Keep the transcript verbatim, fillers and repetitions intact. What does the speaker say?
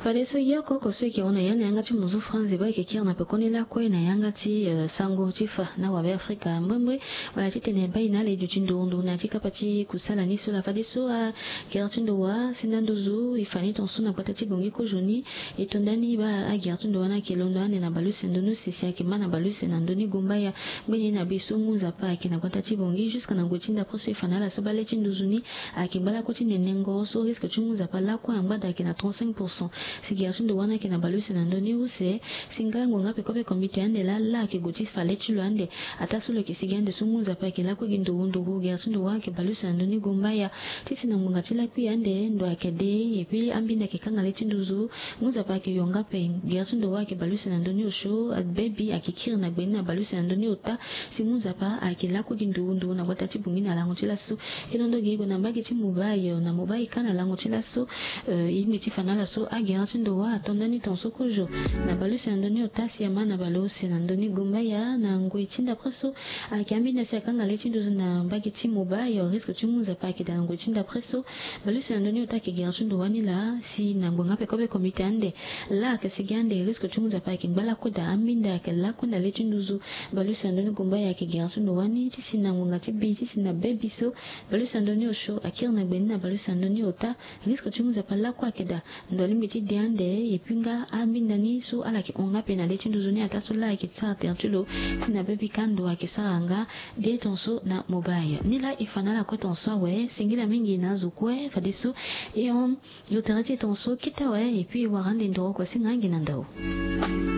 Fadeso yoko koso eke hon na ya na yanga ti muzu France ba eke kiri na pekoni lakue na yanga ti sango ti fa na wabe afrika mbrembre. Wala titene bai na ala e duti nduru nduru na ya ti kapa ti kusala ni so laa fadeso agere ti ndo wa si nda nduzu e fa ni tonso na gbata ti bongi kozo ni. E to nda ni baa agere ti ndo wa ni ayeke londo ande na baleuse na ndoni use si ayeke ma na baleuse na ndoni gumbaya. Ngbeni na be so ngu nzapa ayeke na gbata ti bongi jusque na ngoi ti ndapre so e fa na ala so bale ti nduzu ni ayeke ngba lakue ti nenengo so risque ti ngu nzapa lakue angba daa ayeke na trente-cinq pourcent. Si gere ti ndo wa ni ayeke na baleuse na ndoni use si nga ngonga pekope komite ande laa laa ayeke gue ti fa le ti lo ande. Ataa so lo yeke sigi ande so ngu nzapa ayeke lakue gi nduru nduru gere ti ndo wa ayeke baleuse na ndoni gumbaya. Ti si na ngbonga ti lakui ande ndo ayeke de epui ambinda ayeke kanga le ti nduzu. Ngu nzapa ayeke yonga ape. Gere ti ndo wa ayeke baleuse na ndoni osio abebi ayeke kiri na gbe ni na baleuse na ndoni ota. Si ngu nzapa ayeke lakue gi nduru nduru na gbata ti bongi na lango ti laso. E londo gi e gue na mbage ti mobai na mobai kâ na lango ti laso. E lingbi ti fa na ala so agere ti ndo wa ato nda ni tonso kozo na baleuse na ndoni ota si ama na baleuse na ndoni gumbaya na ngoi ti ndapre so. Ayeke ambinda si akanga le ti nduzu na mbage ti mobai risque ti ngu nzapa ayeke daa na ngoi ti ndapre so. Baleuse na ndoni ota ayeke gere ti ndo wa ni laa si na ngbonga pekope komite ande laa ayeke sigi ande risque ti ngu nzapa ayeke ngba lakue daa ambinda ayeke lakue na le ti nduzu. Baleuse na ndoni gumbaya ayeke gere ti ndo wa ni ti si na ngbonga ti bi ti si na bebi so. Baleuse na ndoni osio akiri na gbe ni na baleuse na ndoni ota. Risque ti ngu nzapa lakue ayeke daa. Ndo alingbi ti de ande epui nga ambinda ni so ala yeke hon nga ape na le ti nduzu ni ataa so laa ayeke sara tere ti lo. Si na bebi kâ ndo ayeke sara nga. De tonso na mobai ni laa e fa na ala kue tonso awe singila mingi na azo kue fadeso. E hon yo tere ti e tonso kete awe epui e wara ande ndoro kua singa ange na ndao.